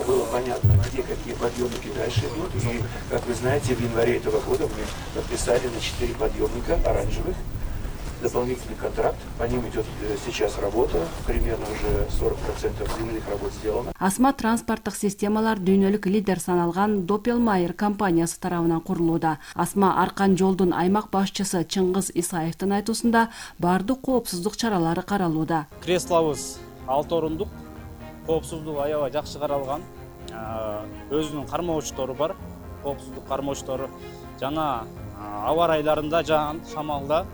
было понятно, где какие подъемники дальше идут. И, как вы знаете, в январе этого года мы подписали на 4 подъемника оранжевых дополнительный контракт. По ним идет сейчас работа. Примерно уже 40% земельных работ сделано. Асма транспорттук системалар дүйнөлүк лидер саналган Doppelmayr компаниясы тарабынан курулууда. Асма Аркан жолдун аймак башчысы Чыңгыз Исаевдин айтуусунда баардык коопсуздук чаралары каралууда. Креслобуз 6 орундук, коопсуздук аябай жакшы каралган. Өзүнүн кармоочтору бар, коопсуздук кармоочтору. Жана аба ырайларында, жаан, шамалда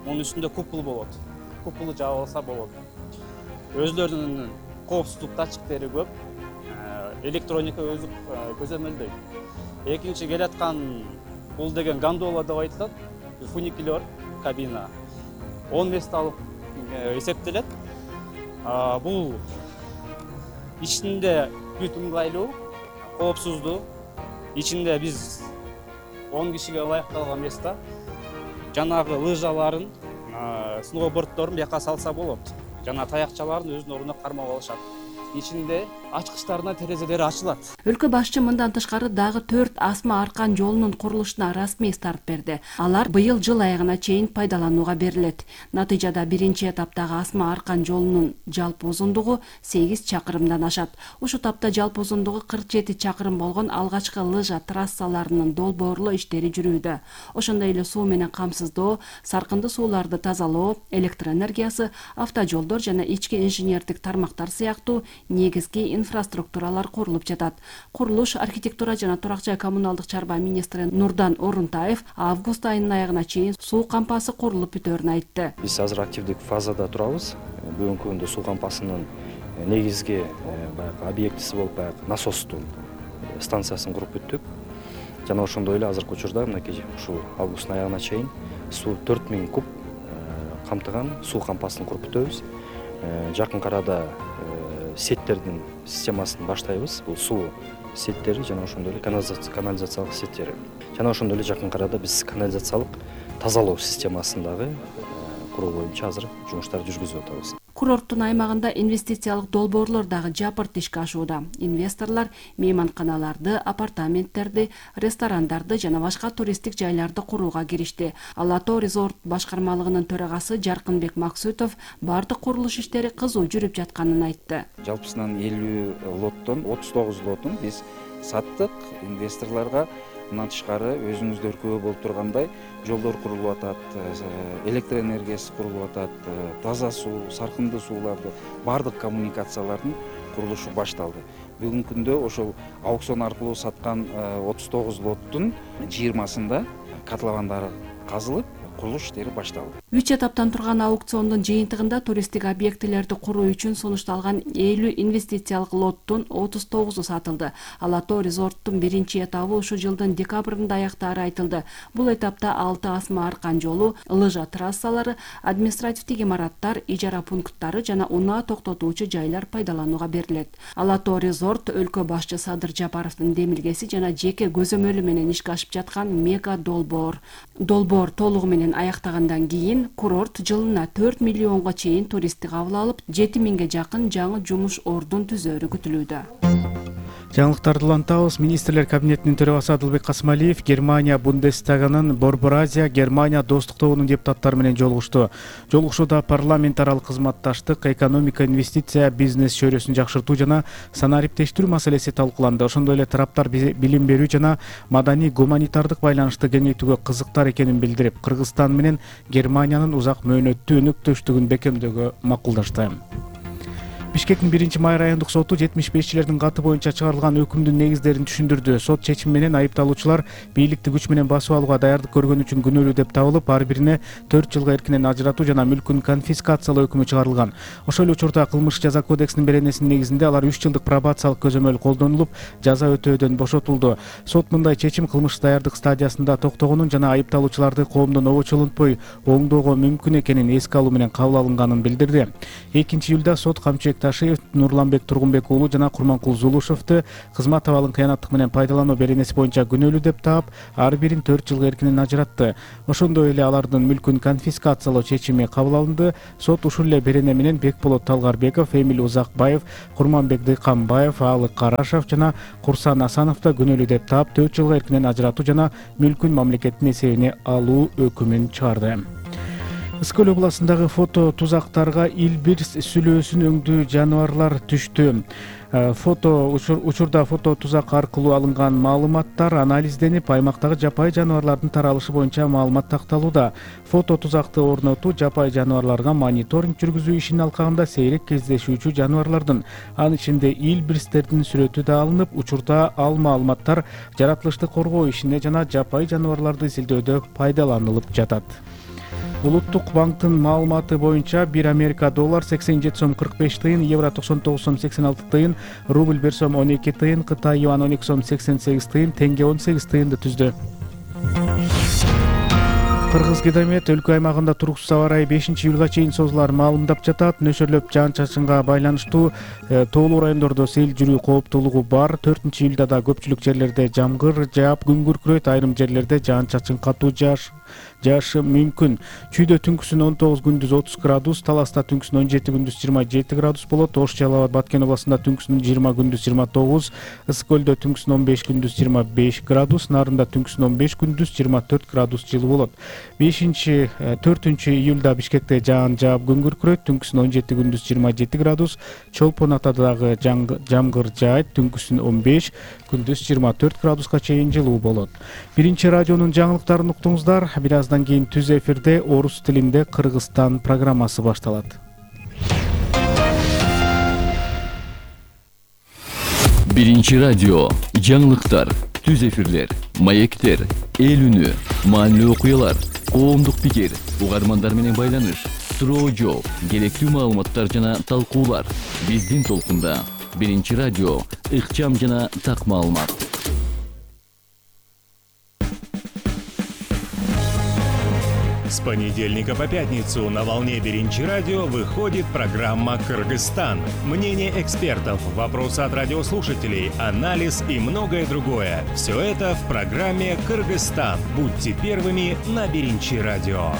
onun üstünde kupul болот. Kupulu жаап алса болот. Өзлөрүнүн коопсуздук датчиктери көп. Электроника өзү көзөмөлдөйт. Экинчи келаткан бул деген гондола деп айтылат. Фуникулер кабина 10 месталык эсептелет. Бул ичинде бүт ыңгайлуу, коопсуздуу. Ичинде биз 10 кишиге ылайыкталган места. Жанагы лыжаларын, сноуборддорун бияка салса болот. Жана таякчаларын өзүнүн ордуна кармап алышат. Ичинде ачкычтарына терезелери ачылат. Өлкө башчы мындан тышкары дагы 4 Асма Аркан жолунун курулушуна расмий старт берди. Алар быйыл жыл аягына чейин пайдаланууга берилет. Натыйжада биринчи этаптагы Асма Аркан жолунун жалпы узундугу 8 чакырымдан ашат. Ушу тапта жалпы узундугу 47 чакырым болгон алгачкы лыжа трассаларынын долбоорлоо иштери жүрүүдө. Ошондой эле суу менен камсыздоо, саркынды сууларды тазалоо, электр энергиясы, автожолдор жана ички инженердик тармактар сыяктуу негизги инфраструктуралар курулуп жатат. Курулуш архитектура жана турак жай коммуналдык чарба министри Нурдан Орунтаев август айынын аягына чейин суу кампасы курулуп бүтөөрүн айтты. Биз азыр активдик фазада турабыз. Бүгүнкү күндө суу кампасынын негизги объектиси болуп насостун станциясын куруп бүттүк. Жана ошондой эле азыркы учурда мынакей ушул августтун аягына чейин суу 4000 куб камтыган суу кампасын куруп бүтөбүз. Жакын арада сеттердин системасын баштайбыз. Бул суу сеттери жана ошондой эле канализациялык сеттери. Жана ошондой эле жакын арада биз канализациялык тазалоо системасын дагы куруу боюнча азыр жумуштарды жүргүзүп атабыз. Курорттун аймагында инвестициялык долбоорлор дагы жапырт ишке ашууда. Инвесторлор мейманканаларды, апартаменттерди, ресторандарды жана башка туристтик жайларды курууга киришти. Алато резорт башкармалыгынын төрагасы Жаркынбек Максутов бардык курулуш иштери кызуу жүрүп жатканын айтты. Жалпысынан 50 лоттон 39 лотун биз саттык инвесторлорго. Мындан тышкары өзүңүздөр күбө болуп тургандай жолдор курулуп атат, электр энергиясы курулуп атат, таза суу, саркынды сууларды, бардык коммуникациялардын курулушу башталды. Бүгүнкү күндө ошол аукцион аркылуу саткан 39 лоттун 20-сында котловандары казылып, курулуш иштери башталды. 3 этаптан турган аукциондун жыйынтыгында туристтик объектилерди куруу үчүн сунушталган 50 инвестициялык лоттун 39-у сатылды. Алато резорттун биринчи этабы ушул жылдын декабрында аяктаары айтылды. Бул этапта 6 Асма Аркан жолу, лыжа трассалары, административдик имараттар, ижара пункттары жана унаа токтотуучу жайлар пайдаланууга берилет. Алато резорт өлкө башчы Садыр Жапаровдун демилгеси жана жеке көзөмөлү менен ишке ашып жаткан мега долбоор. Долбоор толугу менен аяктагандан кийин курорт жылына 4 миллионго чейин туристти кабыл алып, 7000ге жакын жаңы жумуш ордун түзөөрү күтүлүүдө. Жаңылыктарды улантабыз. Министрлер кабинетинин төрагасы Адылбек Касымалиев Германия Бундестагынын Борбор Азия Германия достук тобунун депутаттары менен жолугушту. Жолугушууда парламент аралык кызматташтык, экономика, инвестиция, бизнес чөйрөсүн жакшыртуу жана санариптештирүү маселеси талкууланды. Ошондой эле тараптар билим берүү жана маданий гуманитардык байланышты кеңейтүүгө кызыктар экенин билдирип, Кыргызстан менен Германиянын узак мөөнөттүү өнөктөштүгүн бекемдөөгө макулдашты. Бишкектин 1-май райондук соту 75-чилердин каты боюнча чыгарылган өкүмдүн негиздерин түшүндүрдү. Сот чечими менен айыпталуучулар бийликти күч менен басып алууга даярдык көргөн үчүн күнөөлүү деп табылып, ар бирине 4 жылга эркинен ажыратуу жана мүлкүн конфискациялоо өкүмү чыгарылган. Ошол эле учурда кылмыш жаза кодексинин беренесинин негизинде алар 3 жылдык пробациялык көзөмөл колдонулуп, жаза өтөөдөн бошотулду. Сот мындай чечим кылмыш даярдык стадиясында токтогонун жана айыпталуучуларды коомдон обочолонтпой оңдоого мүмкүн экенин эске алуу менен кабыл алынганын билдирди. 2 июлда сот камчы Бекташиев, Нурланбек Тургунбек уулу жана Курманкул Зулушевду кызмат абалын кыянаттык менен пайдалануу беренеси боюнча күнөөлүү деп таап, ар бирин 4 жылга эркинен ажыратты. Ошондой эле алардын мүлкүн конфискациялоо чечими кабыл алынды. Сот ушул эле берене менен Бекболот Талгарбеков, Эмил Узакбаев, Курманбек Дыйканбаев, Аалык Карашев жана Курсан Асановду күнөөлүү деп таап, 4 жылга эркинен ажыратуу жана мүлкүн мамлекеттин эсебине алуу өкүмүн чыгарды. Ысык Көл областындагы фото тузактарга Илбирс сүлөөсүн өңдүү жаныбарлар түштү. Учурда фото тузак аркылуу алынган маалыматтар анализденип, аймактагы жапайы жаныбарлардын таралышы боюнча маалымат такталууда. Фото тузакты орнотуу жапайы жаныбарларга мониторинг жүргүзүү ишин алкагында сейрек кездешүүчү жаныбарлардын, анын ичинде илбирстердин сүрөтү да алынып, учурда ал маалыматтар жаратылышты коргоо ишине жана жапайы жаныбарларды изилдөөдө пайдаланылып жатат. Улуттук банктын маалыматы боюнча 1 Америка доллар 87 сом 45 тыйын, евро 99 сом 86 тыйын, рубль 1 сом 12 тыйын, Кытай юан 12 сом 88 тыйын, теңге 18 тыйынды түздү. Кыргыз Гидромет өлкө аймагында туруксуз аба ырайы 5-июлга чейин созулар маалымдап жатат. Нөшөрлөп жаан-чачынга байланыштуу тоолуу райондордо сел жүрүү кооптуулугу бар. 4-июлда да көпчүлүк жерлерде жамгыр жаап, күн күркүрөйт, айрым жерлерде жаан-чачын катуу жаашы мүмкүн. Чүйдө түнкүсүн 19, күндүз 30 градус, Таласта түнкүсүн 17, күндүз 27 градус болот. Ош, Жалал Абад, Баткен областында түнкүсүн 20, күндүз 29, Ысык Көлдө түнкүсүн 15, күндүз 25 градус, Нарында түнкүсүн 15, күндүз 24 градус жылы болот. 4-июлда Бишкекте жаан жаап, күн күркүрөйт, түнкүсүн 17, күндүз 27 градус, Чолпон Атада дагы жамгыр жаайт, түнкүсүн 15, күндүз 24 градуска чейин жылуу болот. Биринчи радионун жаңылыктарын уктуңуздар. Бир аздан кийин түз эфирде орус тилинде Кыргызстан программасы башталат. Биринчи радио, жаңылыктар, түз эфирлер, маектер, эл үнү, маанилүү окуялар, коомдук пикир, угармандар менен байланыш, суроо жооп, керектүү маалыматтар жана талкуулар. Биздин толкунда Биринчи радио, ыкчам жана так маалымат. С понедельника по пятницу на волне Биринчи радио выходит программа «Кыргызстан». Мнение экспертов, вопросы от радиослушателей, анализ и многое другое. Все это в программе «Кыргызстан». Будьте первыми на Биринчи радио.